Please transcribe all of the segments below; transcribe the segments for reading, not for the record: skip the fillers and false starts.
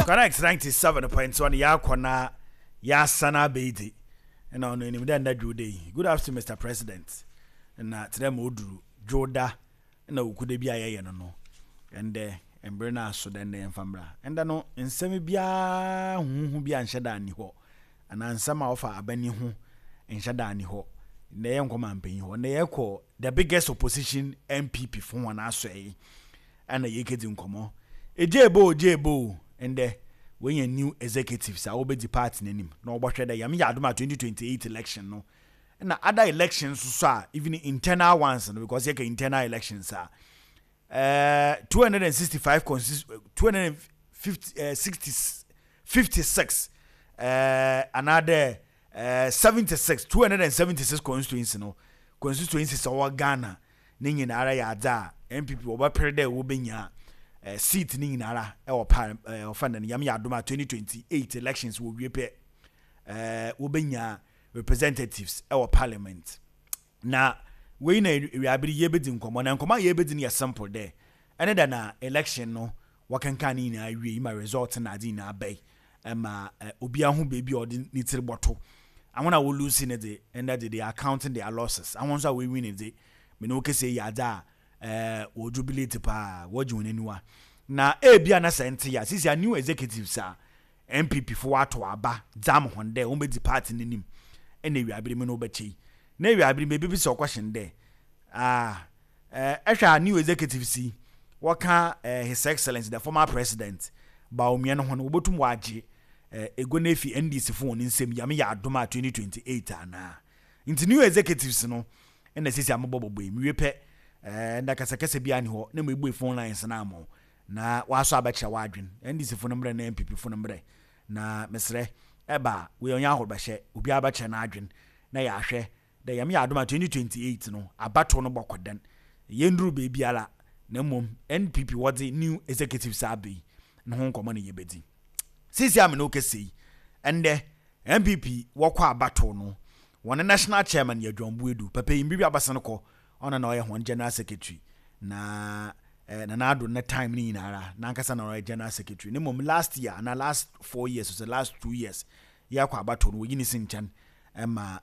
Connect 97.1 yɛakɔ na yɛasan abɛyi ɛna ɔno anim dɛ nda dwo yi. Good afternoon, Mr President. Na tena ma oduru dwoda na okuda bi a yɛyɛ no, ɛndɛ mbere no aso dɛ ndɛ yɛmfa mbra. Ɛndɛ no nsɛm biara huhu bi anhyɛ da ani hɔ anaa nsɛm a wɔfa abani ho nhyɛ da ani hɔ. Ndɛ yɛnkɔ mampanyin hɔ, ndɛ yɛkɔ the biggest opposition, NPP fo wɔn asɔe yi, ɛna yɛkɛdi nkɔmmɔ. Egye ebo, ogye ebo, ndɛ wɔnya new executives a wɔbɛdi party n'anim na wɔbɛhwɛ dɛ Yame yɛ adom a 2028 election no na other elections so a, even internal ones no, because yɛka internal elections a 265 consist 250 60 56 anaadɛ 76 276 constituency no, constituencies a wɔwɔ Ghana ne nyinara yɛ adze a NPP wɔbɛpere dɛ wɔbɛnya seat ne nyinara ɛwɔ pa ɔfa no. Nyame yɛ adom a 2028 elections wɔ wie pɛ, wɔbɛnya representatives ɛwɔ parliament. Na wei na ewiabere yɛbɛdi nkɔmmɔ, na nkɔmmɔ a yɛbɛdi no yɛ simple dɛ ɛne dɛ na election no wɔkenkan ne nyinaa wie yi ma result na adze nyinaa bɛyi ɛma obiara ho beebi a ɔde ne tiri bɔto. Ahɔn a wɔlose ne de, ɛnɛ de they are counting their losses. Ahɔn nso a wɔwin ne de, mene wo kese yɛ adze a wɔ jubilate paa, wɔgye wɔn aniwa. Na ebia na sɛ nte ya sisi a new executives a NPP fo ato aba dzam hɔn dɛ wɔn bɛdzi party n'anim ɛna ewiabere mu no wɔbɛkyɛ yi na ewiabere mu ebi sɛ ɔkɔhyɛn dɛ ah ɛhwɛ a new executives yi wɔka His Excellence the former President Bawumia no ho no, wɔbɛtum wɔagye ego no efi NDC fo wɔn nsam Yame yɛ adom a 2028 anaa. Nti new executives no ɛna sisi a mobɔ bɔbɔ yi mewie pɛ nda kasakasa bi ani hɔ na mo ebue phone lines na ama na wasɔ abɛkyerɛ w'adwen, NDC fo no mmerɛ na NPP fo no mmerɛ. Na mesrɛ ɛba wei ɔnyɛ ahorobɛhyɛ, obiara bɛkyerɛ n'adwen na yɛahwɛ dɛ Yame yɛ adom a 2028 no abatow no bɔkɔ dɛn. Yɛnduru beebiara, na mmom NPP wɔdze new executives aba yi no ho nkɔmmɔ na yɛbɛdi sisi a me ne wo kɛse yi. Ɛndɛ NPP wɔkɔ abatow no, wɔn national chairman yɛ John Buedu. Papa yi mbiribi abasa no kɔ, ɔno na ɔyɛ wɔn general secretary na Nana Addo ne time ne nyinara n'ankasa na ɔyɛ general secretary ne. Mmom last year ana last 4 years, so last 2 years yɛkɔ abatow no, wɔyi ne si nkyɛn ɛma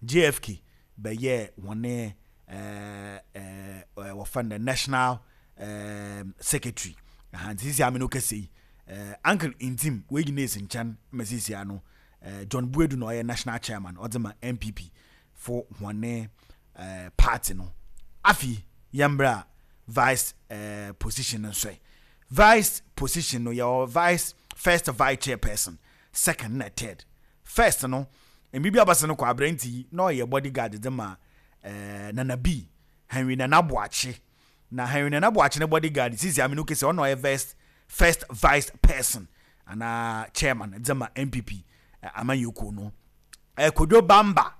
JFK bɛyɛ wɔn ɛɛ ɛɛ wɔfɛ no national secretary. Nti sisi ame no kɛse yi, Uncle Ntim wɔyi ne si nkyɛn ma sisi ano John Buedu na ɔyɛ national chairman ɔdze ma NPP fo wɔn party no. Afi yɛmbra vice position no nso yi, vice position no yɛwɔ vice first, vice chairperson, second na third. First no, mbibi abasa no kɔ aberante yi na ɔyɛ bodyguard de ma Nana B, Henry Nana Boakye. Na Henry Nana Boakye ne bodyguard sisi aminu kese ɔno ɔyɛ first vice person anaa chairman de ma NPP amanyɔkuo no. Kodwo Bamba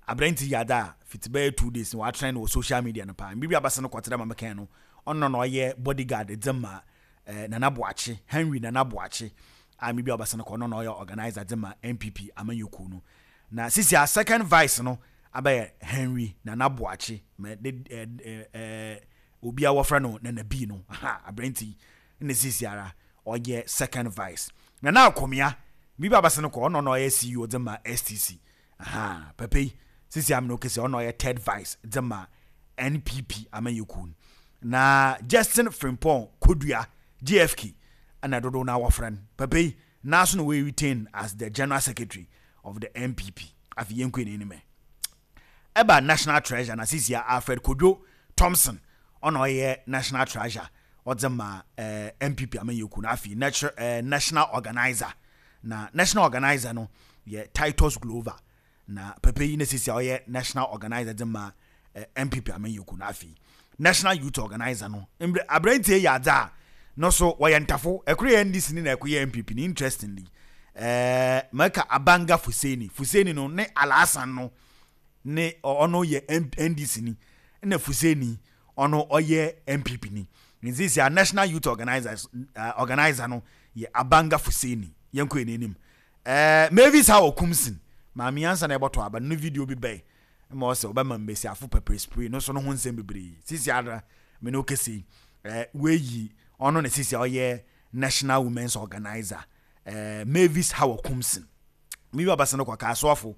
aberante yi ada a fiti bɛyɛ 2 days na watrend wɔ social media no paa. Mbibi abasa no kɔtena ma mekɛn no, ɔno na ɔyɛ bodyguard de ma Nana Boakye, Henry Nana Boakye a mbibi abasa no kɔ, ɔno na ɔyɛ organizer de ma NPP amanyɔkuo no. Na sisi a second vice no abɛyɛ Henry Nana Boakye mɛ de ɛɛ ɛɛ obi a wɔfrɛ no Nana B no ha, aberante yi na sisi ara ɔyɛ second vice. Nana Akomea bibi abasa no kɔ, ɔno na ɔyɛ CEO de ma STC aha. Pɛpɛ yi sisi amina okese ɔno ɔyɛ third vice de ma NPP amanyɔkuo no. Na Justin Frimpong Kodua, JFK ɛna dodoɔ na wɔfrɛ no, pɛpɛ yi naaso na wɔyɛ retain as the general secretary of the NPP. Afei yɛn kɔ n'anim ɛba national treasurer, na sisi Alfred Kodwo Thompson ɔna ɔyɛ national treasurer ɔdze ma NPP amanyɔkuo no. Afei national organizer, na national organizer no yɛ Titus Glover, na pɛpɛ yi na sisi a ɔyɛ national organizer dze ma NPP amanyɔkuo no. Afei national youth organizer no, mbrɛ aberanteɛ yɛ adze a no so wɔyɛ ntafo, ɛkoro yɛ NDC ni na ɛkoro yɛ NPP ni. Interestingly, mɛka Abanga Fuseni. Fuseni no ne Alhassan no ne ɔno yɛ NDC ni ɛna Fuseni ɔno ɔyɛ NPP ni. Nti sɛ national youth organizer no yɛ Abanga Fuseni. Yɛn kɔ yɛn anim, Mavis Hawa Koomson maame ansa na ɛbɔtɔ aba no video bi bɛn ma ɔsɛ ɔbɛma mbesiafo pepper spray no so no ho nsɛm bebree. Sisi ara me no kese weyi ɔno na sisi a ɔyɛ. National Women's Organizer eh, Mavis Hawa Kumsin. Mi bi abasa no kɔ Kasoafo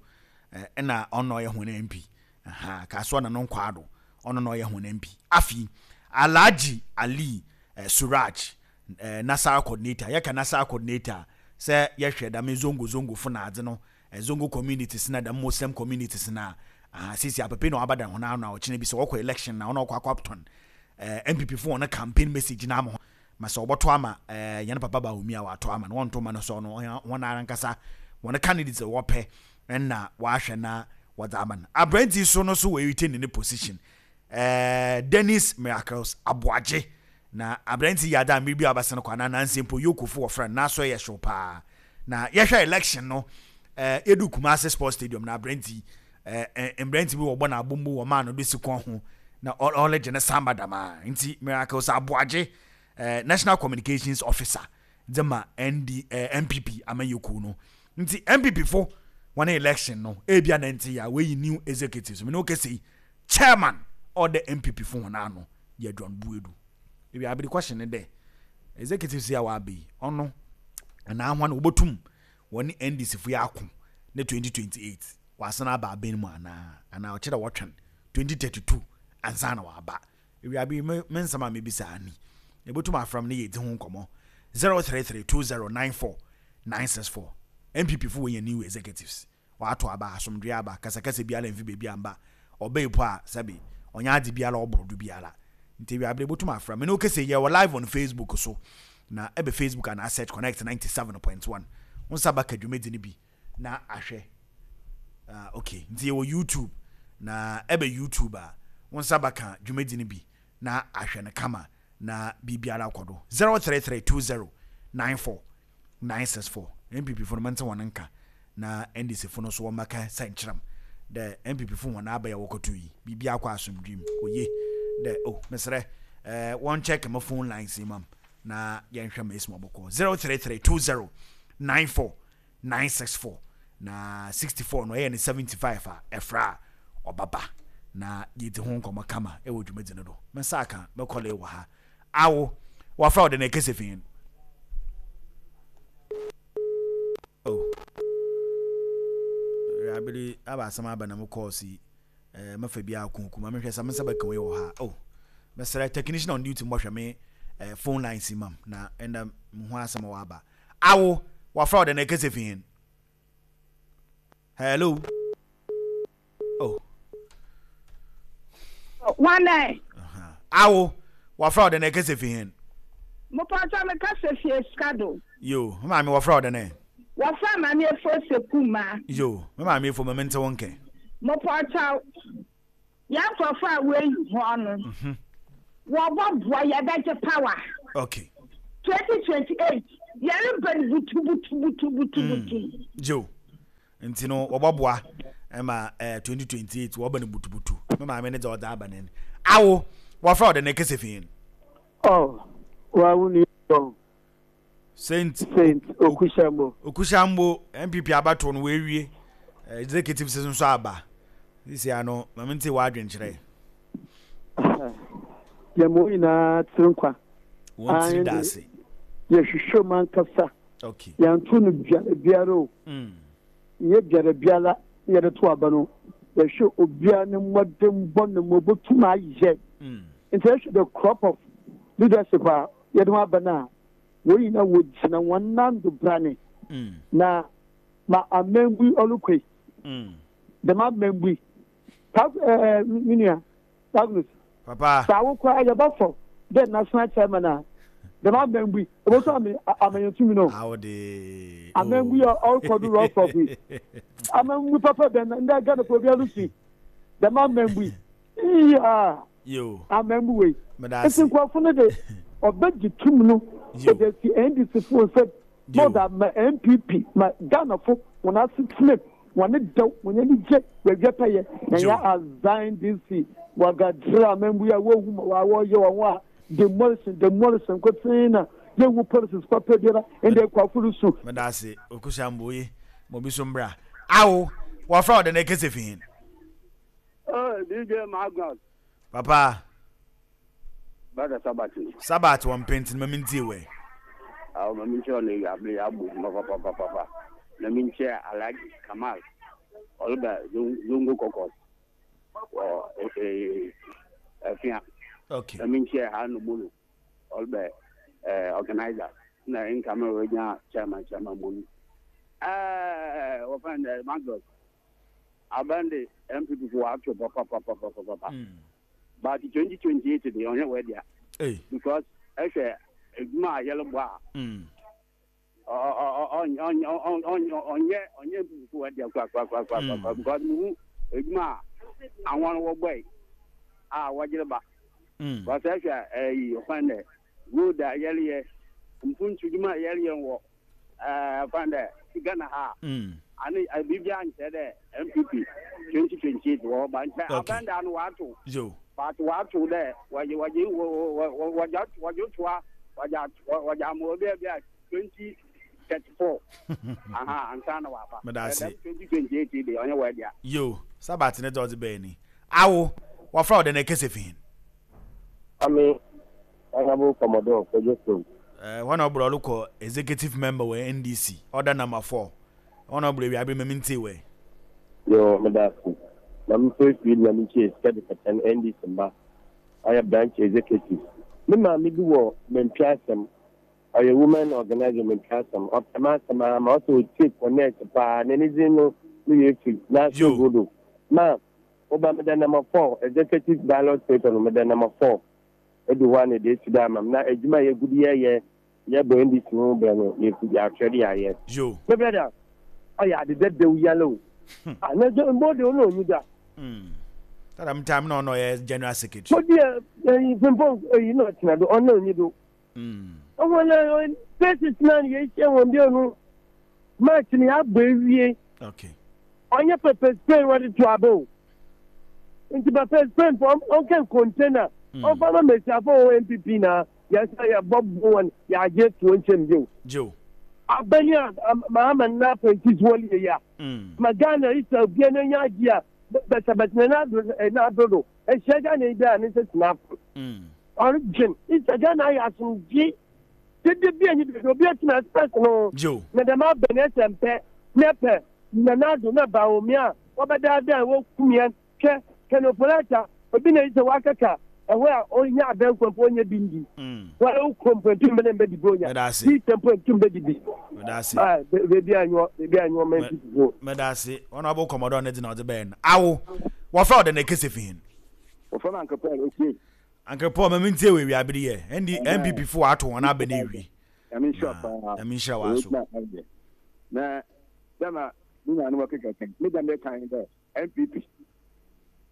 eh, na ɔno ɔyɛ hɔn MP. Aha, Kasoa na no nkwaado, ɔno na ɔyɛ hɔn MP. Afei, Alhaji Ali eh, Suraj, eh, Nasara coordinator. Yɛka Nasara coordinator a, sɛ yɛhwɛ dɛm Zongo Zongofo na adze no, eh, Zongo communities na dɛm Muslim communities no a, aha, sisi apepe na ɔaba dan hɔn ano a ɔkyena bi sɛ wɔkɔ election na ɔno ɔkɔ akɔtɔn eh, NPP fo hɔn campaign message no ama hɔn. Ma sɛ wɔbɔto ama eh, hɛn papa Bawumia a wɔato ama no, wɔnnto mma no so ɔno hɔn ara ankasa hɔn candidates a wɔpɛ na wɔahwɛ na wɔdze ama no. Aberantsɛ yi so no so oeretain ne position, eh, Dennis Miracles Aboagye. Na aberantsɛ yi yɛ adze a mber bi a ɔabɛsen kɔ anaa naansa mpo Yokofo wɔfrɛ no, n'aso yɛ hyew paa. Na yɛhwɛ election no, eh, yedu Kumasi Sports Stadium na aberantsɛ yi, eh, eh, mberantsɛ bi wɔbɔ no abombo wɔmaa no do si kɔn ho na ɔregye ne samba dɛm ara. Ntsi Miracles Aboagye, eh, National Communications Officer dze ma ND, eh, NPP amanyɛkuw no. Ntsi NPP fo hɔn election no, ebia na nntse yie a, woeyi new executives. Menye wo kasa yi, Chairman a ɔda NPP fo hɔn ano yɛ John Boadu. Ewia aber question ne dɛ, executives yi a wɔaba yi, ɔno anaa hɔn wobotum wɔnye NDC fo yi ako ne 2028 wɔasan aba aban mu anaa? Anaa ɔkyerɛ dɛ wɔtwɛn 2032 ansaana wɔaba? Ewiaber yi, me me nsɛm a mebisa ara ni. Ebotum afrɛ me na yeedzi ho nkɔmbɔ. 0332094964 NPP fo woenya new executives, wɔato aba, asomdwee aba, kasakasa biara mmfi beebi ammba, ɔbae po a sɛbe ɔnnyɛ adze biara a ɔbor do biara. Ntsi ewiaber ebotum afrɛ me. Menye wo kasa yi, yɛwɔ live on Facebook so, na ebɛ Facebook anaa search Connect 97.1, wo nsa bɛka dwumadzi no bi na ahwɛ. Ah, okay. Nti yɛwɔ YouTube. Na ɛbɛ YouTube a, wo nsa bɛka dwumadzi no bi na ahwɛ no kama na biribiara akɔ do. 0332094964. NPP fo no mente hɔn nka na NDC fo no so wɔmmɛka sɛnkyerɛm dɛ NPP fo hɔn aba yi a wɔkɔto yi, biribiara kɔ asomdwee mu. Oye dɛ, oh, meserɛ, eh, wɔn check mo phone lines yi ma m na yɛnhwɛ ma esi ma ɔbɔkɔ. 0332094 964 na 64 no ɛyɛ ne 75 a ɛfrɛ a ɔbɛba na yɛdi ho nkɔmmɔ kama ɛwɔ dwumadzi no do. Me nsa aka me kɔle wɔ ha. Awo, wɔafrɛ wo dɛn ɛkɛsɛ fi hen? Oh. Abere aba asɛm aba na mo kɔɔse yi. Eh, mɛfa bi akunku ma mehwɛ sɛ me nsa bɛka wei wɔ ha. Oh. Mesrɛ technician on duty mbɔhwɛ me eh, phone lines mam na ɛnda mo ho asɛm wɔ aba. Awo, wɔafrɛ wo dɛn na ɛkasa fi hen? Hello? Oh. Wane? Awo, wɔafrɛ wo dɛn na ɛkasa fi hen? Mopatwa me kasa fi Escado. Yo, me maame wɔfrɛ wo dɛn ɛ? Wɔfrɛ maame Efo Sekuma. Yo, me maame Efo, ma mente wo nkɛ. Mopatwa Yɛn nkorɔfo a woeyi hɔn no, wɔbɔboa, yɛbɛgye power. Okay. 2028, yɛreba no butubutubutubutubutu. Gyew. Nti no, wɔbɔboa ma eh, 2028 wɔba no butubutu. Me maame ne dza ɔdze aba no Awo, wɔfrɛ wo dɛn ekese fi hen? Oh, wa wo nua o. Saint Saint Okushambo. Okushambo NPP abatoɔ no wɔawie executives nso aba sisi ano ma mente w'adwenkyerɛ. Yɛn mo nyinaa tiri nkwa. Wɔn tiri da ase. Yɛhwehwɛ mu ankasa. Okay. Yɛnto no biara biara o. Mm. Nyɛ biara biara na yɛde to aba no. Yɛhwɛ obiara ne mmɔdenbɔ ne ma obotum ayɛ. Mm. Nti yɛhwɛ the crop of leadership a yɛde ho aba no a Hɔn nyina wogyina hɔn nan do brane, na ma amambui ɔrokɔ yi, dɛm amambui, Pas eh, me nua, Magnus, Papa. sɛ awo koraa yɛbɔfɔ dɛ national chairman a, dɛm amambui, obotum ame ama hɛn tumi no. Awo de. Amambui a ɔrokɔ do rough rough yi, amambui papa bɛn na ndɛ Ghanafo obiara rusu yi, dɛm amambui, Iya! Yo. Amambu wei. Meda Nti ase. nkurɔfo no de ɔbɛgye tum no Yo. ɔde asi NDC fo nsam na Yo. ɔde ama NPP ma Ghanafo wɔn asetena mu wɔn dɛw wɔn ani gye wɔawia pɛyɛ na Yo. nyɛ azan DC wagadra amambu yi a wɔhu ma wɔayɛ wɔn ho a demolition demolition nkotsee na yɛnhu policies papa biara ndɛ akuafo rusu. Meda ase Okusambo ye ma obi so mbra. Awo, wɔfrɛ wo dɛn ekese fi hen? Oh, DJ Magnus. Papa. Brother Sabat. Sabat wɔ mpɛntin ma mintie wɛ. Awo ma menkyia wo na ewiaber yi abɔ edwuma papapapapa. Na menkyia Alhaji Kamal ɔreba Zongo Caucus wɔ Afia. Okay. Na menkyia Haruna Molo ɔreba organizer na incoming regional chairman chairman Molu. Ɛɛ wɔfɛn dɛ Magnus aban de NPP fo wɔato papapapapapa. But 2028 de ɔnyɛ wɔ dea. Because ɛhwɛ edwuma a yɛlebɔ a. Ɔnyɛ ɔnyɛ NPP fo wɔ dea kura kura kura kura kura because muhu edwuma a ahɔn wɔbɔe a wɔgyere ba. Because ɛhwɛ ɛyi ɔfɛn dɛ road a yɛleyɛ mpuntu dwuma a yɛleyɛ wɔ ɛɛ dɛ Ghana ha ane biribiara nkyerɛ dɛ NPP 2028 wɔ hɔ ba nkyɛ aban da no wɔato but wɔato dɛ wɔgye wɔgye wɔgye wɔgye toa wɔgye wɔgye ama obi a bi a 2034 aha ansa na wɔaba Meda ase. 2028 de ɔnyɛ wɔ ɛdea. Yo, Sabat ne dza ɔdze bae ni. Awo, wɔfrɛ wo dɛn na ekese fi hen? Ame Honourable Commodore Kwadwo Twum. Eh, hɔ na ɔbrɛ ɔlokɔ executive member wɔ NDC, order number 4. Hɔ na ɔbrɛ wiabere ma mentie wɛ. Yoo, meda ase. Ma memfa afiri na menkyie sika de kɛtɛ no NDC mma ɔyɛ branch executive. Me maame bi wɔ Mantwi asɛm, ɔyɛ woman organizer wɔ Mantwi asɛm. Ɔpɛ m'asɛm ara ma ɔsɛ ɔtie connect paa. Na ne dzin no me werɛ firi. N'aso Yo. Godo. Ma woba meda number 4 executive ballot paper no meda number 4. Edu hɔ a na yɛde esi do ama me. Na edwuma a yegu do yɛyɛ yɛbɔ NDC ho bra no yɛfi yɛahwɛ de yɛayɛ. Yo. Me brother, ɔyɛ ade dɛdɛw yala o. Ah, na dɛ mbɔ de ɔno onnyi da. That am time na ɔno ɔyɛ general secretary. Mo deɛ ɛyi frimpong ɛyi na ɔtena do ɔno onnyi do. Ɔwɔ na places na yɛhyia wɔn bio no match no yɛabɔ ewie. Okay. Ɔnyɛ pepper spray wɔde to aba o. Nti pepper spray mpo ɔnka container ɔmfa ma mmesiafo wɔ NPP na yɛsɛ yɛbɔ bo wɔn yɛagye to nkyɛn bio. Joe. Abani a Mahama na apprentice wɔn yɛ ya. Ma Ghana isa obia na nya agye a bɛsɛbɛsɛ na na adodo. Ehyia Ghana yi bia ne nsa si n'afo. Ɔredwen isa Ghana ayɛ asomdwe. Dede bi anyi dede obi atumi express no. Joe. Na dɛm abani ɛsɛ mpɛ na pɛ na n'ado na Bawumia wɔbɛdaadaa wɔkum yɛn hwɛ Ken Ofori-Atta obi na yi sɛ wakaka ɛhɔ a ɔnya abɛn kwan mpo ɔnyɛ bi ndi wɔn a wokɔ mpo ntum bɛ ne mbɛ di bi onya Meda ase. bi sɛ mpo ntum bɛ di bi Meda ase. beebi anyɔ beebi anyɔ mɛ nti fufuo. Meda ase. Wɔn a wɔbɔ kɔmɔdɔ ne dze na ɔdze bɛyɛ no. Awo, wɔfrɛ wo dɛn na ekese fi hen? Wɔfrɛ me Uncle Paul Okie. Uncle Paul, ma mentie wɔ ewiabere yi ɛ. ND, NPP fo wɔato wɔn aba no ewie. Nyame nhyira paa. Nyame nhyira w'aso. Na dɛma me nuanom wɔkeka kan, me dɛm mekan dɛ NPP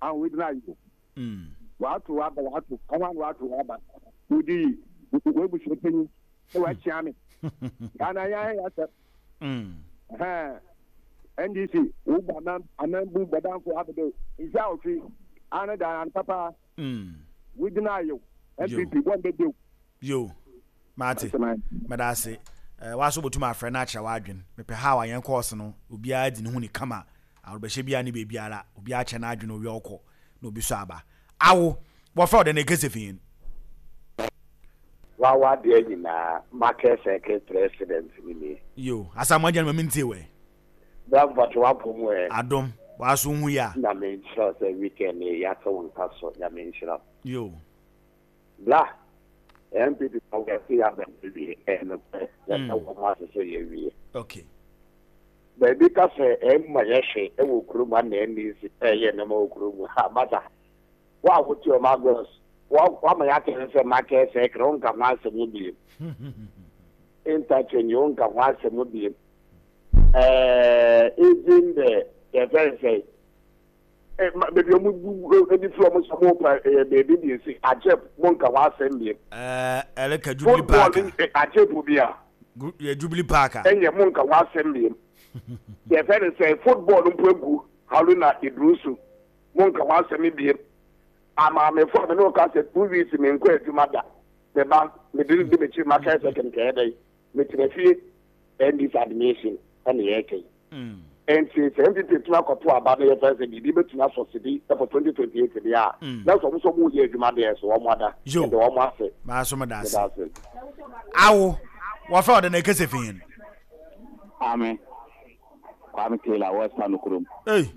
ahụ wei na ayo. Wɔato aba wɔato, ɔho ano wɔato aba. Wodi w'abusua panyin na wɔakyia me. Ghana yɛn ayɛ asɛm. NDC wo bɔ anan ananbu bɔdanfo abɛdɛ mfe awɔtwe ano da ano papa. Wodi na ayo. NPP wɔn bɛ dew. Yo. Mate. Meda ase. Eh, waso botum afrɛ na akyerɛ w'adwen. Mepɛ how a yɛn course no, obiara dzi ne ho ni kama. Awɔbɛhyɛ biara ne beebiara, obiara kyerɛ n'adwen owia ɔkɔ na obi so aba. Awo, wɔfrɛ wo dɛn na ekese fi hen? Wawa deɛ nyinaa market circle president ni nie. Yo, Asamoah Gyan ma mentie wɛ. Bra mpakyɛ w'apɔ mu ɛ. Adom, w'aso hu ya. Nyame nhyira wo sɛ weekend yi yɛate wo nka so Nyame nhyira wo. Yo. Bra, NPP fo yɛse yɛaba awie ɛyɛ nokorɛ yɛda wɔn ase sɛ yɛawie. Okay. Baabi ka sɛ ɛmma yɛ hwee wɔ kurom ha na NDC ɛyɛ nneɛma wɔ kurom ha masa wo a wote ɔma agos wama yɛate ne sɛ market circle wonka ho asɛm biem interchange wonka ho asɛm biem ɛɛ even the yɛfɛ sɛ baabi a wɔn bu de firi wɔn sɛ wɔn pa ɛyɛ baabi de esi agyep mo nka ho asɛm biem. Ɛɛ ɛreka Jubilee Park a. Football agyep bi a. Yɛ Jubilee Park a. Ɛnyɛ mo nka ho asɛm biem. Yɛfɛ no sɛ football mpo egu Haruna Iddrisu mo nka ho asɛm biem. Amaamefo a me ne wo ka sɛ 2 weeks me nkɔ adwuma da. Me ba me de di m'akyi maka sɛ kɛnkɛn dɛ metena fie NDC admission ɛna yɛreka yi. Nti sɛ NPP tumi akɔto aba na yɛfɛ sɛ biribi bɛtumi asɔ sidi for 2028 deɛ a na sɛ ɔmo sɛ ɔmo yɛ adwuma deɛ so ɔmo ada Yo. yɛde ɔmo ase. Maa so meda ase. Meda ase. Awo. Wɔfrɛ ɔde na ɛkɛsɛ fi hen? Ame Kwame Taylor West Anokurom. Ei.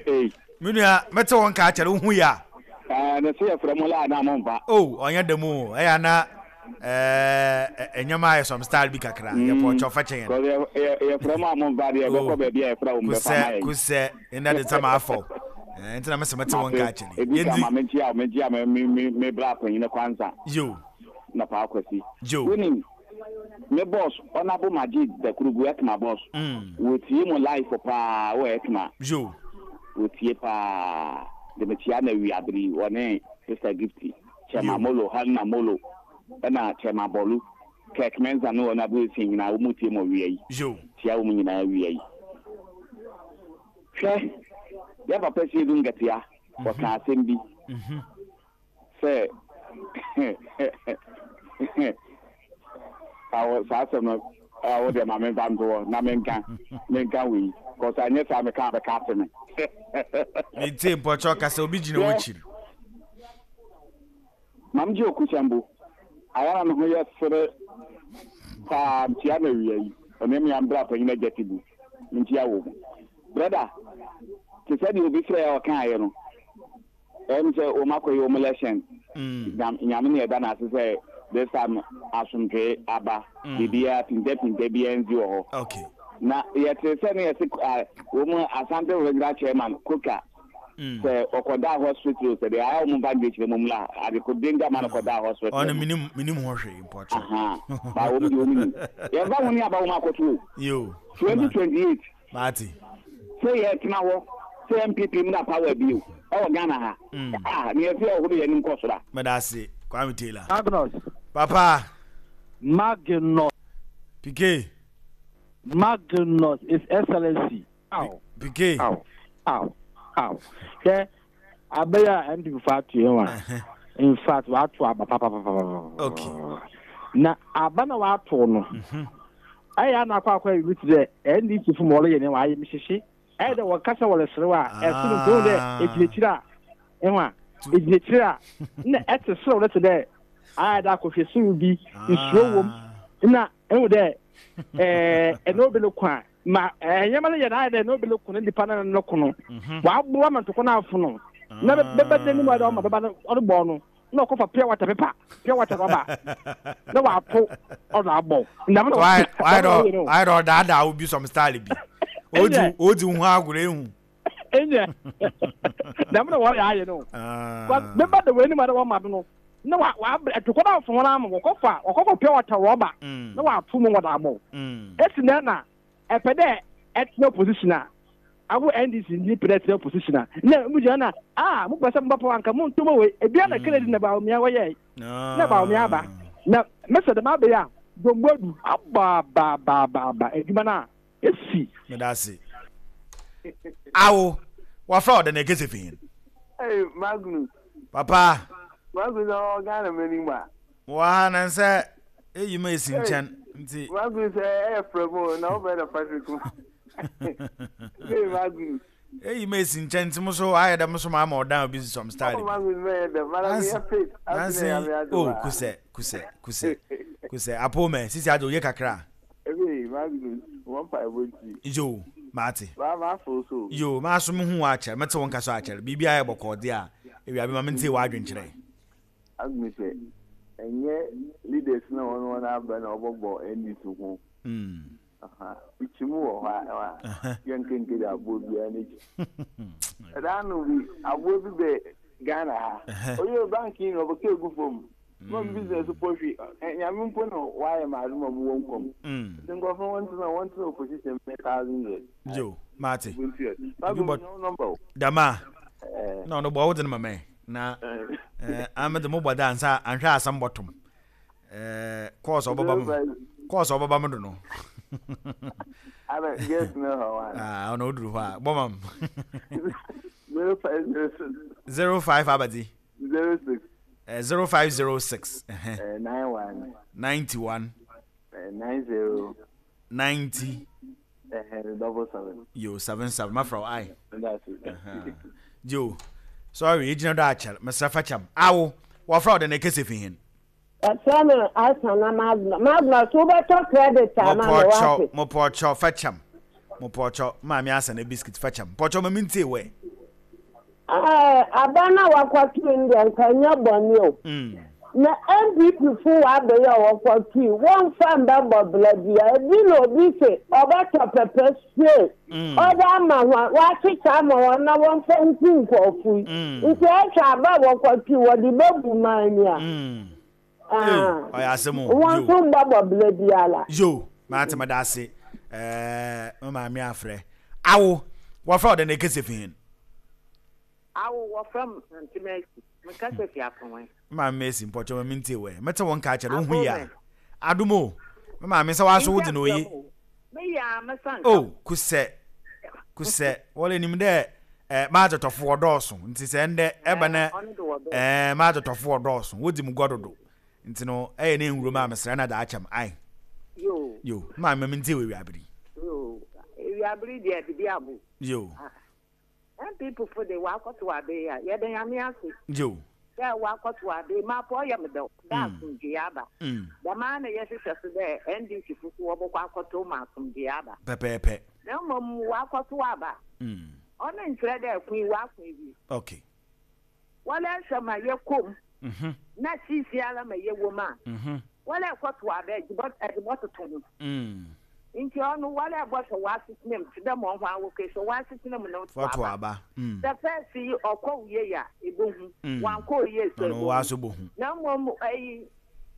Ei. Me nua mɛte wɔn ka akyɛrɛ wohu yɛ a. Ɛɛ ne se yɛfrɛ mo la na mo mfa. Oh ɔnyɛ dɛm o ɛyɛ ana ɛɛ nneɛma ayɛ some style bi kakra yɛ pɔ ɔkyɛ ɔfa kyɛn. Kɔsɛ yɛfrɛ mo a mo mfa deɛ ɛbɛkɔ baabi a yɛfrɛ wɔn bɛfa ma yɛn. Kusɛ kusɛ ɛnna de nsɛm afɔ ɛɛ nti na mɛsɛ mɛte wɔn ka akyɛrɛ. Ebi ka ma menkyia menkyia me me me bra panyin kwansa. Yo. Na paa kwasi. Yo. Wonim Me boss Honourable Majid Dakurugu Ekma boss wɔtie mo life paa wɔ Ekma Yo. Wɔtie paa de mekyia no awia bere yi ɔne Sister Gifty Chairman Yo. Molo Haruna Molo ɛna Chairman Bolu Kirk Mensah ne Honourable Essien nyinaa wɔn tie mo awia yi Yo. kyia wɔn nyinaa awia yi Hwɛ yɛn papa Siedu Nketea ɔka asɛm bi Sɛ awo saa asɛm no awo deɛ ma memfa nto hɔ na menka menka wei kɔsɛ anyɛ saa meka abɛka ate me. Metie mpɔkyɛ ɔkasa obi gyina Hwɛ w'akyiri. Mam gye okusambo ayɛ na ne ho yɛ sere paa ntia na awia yi ɔne me ambra panyin agya tibu ntia wɔ mu brɛda te sɛ deɛ obi frɛ a ɔkaeɛ no Ɛyɛ me sɛ wɔn akɔyɛ wɔn election. Nyame na yɛda no ase sɛ this time asomdwee aba. Biribiara pintapinta biara nsi wɔ hɔ. Okay. Na yɛte sɛ ne yɛse wɔn Asante Regional Chairman Koka sɛ ɔkɔdaa hospital sɛ deɛ ayɛ wɔn mfa nkyerɛkyerɛ mu la ade ko danger ma no kɔdaa hospital. Ɔno menim menim ho hwee mpɔkyɛ. Aha. Ba wɔn deɛ wɔn nim. Yɛmfa ho ne aba wɔn akɔto o. Yo. 2028. Mate. Sɛ yɛ tena hɔ sɛ NPP mmra power bio ɛwɔ Ghana ha ah ne yɛsɛ yɛ horo yɛn anim kɔ soro a. Meda ase Kwame Taylor. Magnus. Papa. Magnus. PK. Magnus His Excellency. Aw. PK. Aw. Aw. Aw. Hwɛ abɛyɛ a NPP fo ato yɛn wa. In fact, wato aba papapapapa. Okay. Na aba na wato no. Mhm. Ɛyɛ a na akɔ akɔ ayi bi te dɛ NDC fo ma wɔreyɛ nneɛma ayɛ mehyehye. Ɛyɛ dɛ wɔkasa wɔreserew a ɛso no nti dɛ egyina akyiri a ɛho a egyina akyiri a na ɛte serew no te dɛ ayɛ dɛ akɔhwɛ serew bi nsuro wom na ɛho dɛ ɛɛ ɛna obi no ko a ma nneɛma no yɛ na ayɛ dɛ na obi no ko no nipa no no ko no waboa ma ntɔkwa no afono na bɛba n'anim ayɛ dɛ ɔma bɛba no ɔde bɔɔ no na ɔkɔfa pure water pepa pure water rɔba na wato ɔdɔ abɔ ndam na wayɛ dɛ wayɛ dɛ ɔdaadaa wo bi some style bi odi odi ho agorɔ ehu ɛnyɛ dɛm na wɔyɛ ayɛ no bɛba da w'anim a na wɔma do no na wa wabrɛ ɛtokɔ na afo wɔn ama wɔkɔfa wɔkɔfa pure water rɔba na wato mu wɔde abɔ esi nɛ na ɛpɛ dɛ ɛtena opposition a Awo NDC ni pɛ dɛ tena opposition a na mu gyina na ah mo pɛ sɛ mo ba power anka mo nto mo wei ebia na Kennedy na Bawumia wɔyɛe na Bawumia aba na mɛsɛ dɛm abɛyɛ a John Boadu aba aba aba aba aba adwuma no a esi. Meda ase. Awo, wafra wo dɛn na ɛkɛsɛ fi hen? Hey, Magnus. Papa. Magnus, ɔwɔ Ghana m'anim a. Wɔ ha na nsɛ eyi ma esi nkyɛn nti. Magnus ɛyɛ frɛ mu na wobɛ na Patrick mu. Hey, Magnus. Eyi ma esi nkyɛn nti mo so ayɛ dɛ mo so ma ama ɔdan obi some style bi. Magnus bɛyɛ dɛ, mara mi yɛ fit. Nansi, oh kusɛ kusɛ kusɛ kusɛ apo mɛ sisi adi oye kakra. Ebe Magnus, wɔn mpaebɔ nti. Yo, mate. Maa ma afo so. Yo, maa so mehu w'akyɛr, mete wo nka so akyɛr. Biribi ayɛ bɔkɔɔ de a, ewia bi ma mentie w'adwenkyerɛ. Agnes sɛ, ɛnyɛ leaders na wɔn wɔn aba na wɔbɔbɔ NDC ho. Aha, ikyi mu wɔ hɔ a, yɛn nkenke de aboɔ biara n'akyi. Ɛda ano bi, aboɔ bi bɛ Ghana ha. Oyɛ bank yi na ɔbɛka egu fam. Ma me business pɔ hwi. Nyame mpo na wayɛ me adom a mowɔ nkwa mu. Nti nkurɔfo no wɔntena wɔntena opposition bɛyɛ thousand years. Yo, mate. Ubuntu yɛ. Mago Ebi bɔ menya wo number o. dama. Eh. Na ɔno bɔ wo de no ma mɛ. Na eh ame de mo bɔ da ansa anhwɛ asɛm bɔtom. Eh course ɔbɛba mo. Course ɔbɛba mo do no. Ana guess no hɔ wa. Ah, ɔno oduru hɔ a. Bɔ mam. 0506. 05 abadzi. 06. Eh, 0506. Eh, 91. 91. Eh, 90. 90. Eh, double seven. Yo, 77. Mafra wo ai. That's it. Yo. Sorry, egyina do akyɛr. Mesrɛ fa kyɛm. Awo, wɔfrɛ wo dɛn na ekese fi hen? Wɔfrɛ me Asana Magna. Magna, so wobɛtɔ credit ama me Mopɔkyɛw, wate? mopɔkyɛw, fa kyɛm. Mopɔkyɛw, Maame Asana biscuit fa kyɛm. Mpɔkyɛw ma mentie wo ɛ. Ɛɛ, aba no a wakɔtoe no deɛ nka ɛnyɛ bɔne o. Na NPP fo wɔ aba yi a wɔkɔtoe, wɔmfa mbɛbɔ bra bia. Ebi na obi se ɔbɛtɔ pɛpɛ spray ɔde ama hɔn, wɔakyekyɛ ama hɔn na wɔmfa nku nkorɔfo yi. Nti ɛhwɛ aba a wɔkɔtoe, wɔde bɛbu man ni a. Ei, ɔyɛ asɛm o. Wɔn Yo. nso mbɛbɔ bra biara. Yo, mate meda ase. Ɛɛ, me maame afrɛ. Awo, wɔfrɛ wo dɛn na ekese fi hen? Awo, wɔfrɛ me Aunty Mercy. Mekasa fi Aponwe. Me maame Mercy, mpɔkyɛw ma mentie wo ɛ. Mete wo nka akyɛre, wo ho ye a? Aponwe. Adom o. Me maame, sɛ w'aso wo dze na oye. Menkyɛ o. Me yɛ a, mesa nka. Oh, kusɛ, kusɛ. Wɔle nim dɛ eh, m'adzetɔfo wɔdɔɔso, ntsi sɛ ndɛ ɛba na Eh, ɔno de wɔdɔɔso. eh, m'adzetɔfo wɔdɔɔso, wodzi mu gua dodo. Ntsi no, ɛyɛ na enwuro mu a, mesrɛ na dza akyɛ m', ae. Yo. Yo, me maame ma mentie wo ewiaber yi. Yo, ewiaber yi deɛ biribi abo. Yo. Ah. NPP fo de wɔakɔtow aber yi a, yɛda Nyame ase Yo. dɛ wɔakɔtow aber yi. Mapɔ ɔyɛ me dɛw dɛ asomdwee aba. Dɛm ara na yɛhwehwɛ so dɛ NDC fo so wɔbɔkɔ akɔtow ma asomdwee aba. Pɛpɛɛpɛ. Na mbom wɔakɔtow aba, ɔno nnkyerɛ dɛ ko yi wɔako ewie. Okay. Wɔrehwɛ ma yɛkɔ mu na siisiara ma yɛwɔ mu a, wɔrekɔtow aba a, edze bɔtoto ho. Ntsi ɔno wɔrebɔhwɛ w'asetsena mu tse dɛ ma ɔho awɔkɔ ehwɛ w'asetsena mu na ɔtow aba. Sɛ first yi ɔkɔ wo yie a, ebohu, ɔannkɔ wo yie so a, ebohu. Na mbom ayi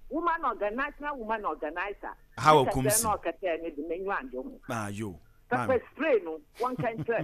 woman organ national woman organiser ne kɛsɛɛ na ɔkɛsɛɛ no de, m'enyiwa anngye ho. Pɛpɛ spray no, wɔnkɛ nkyerɛ.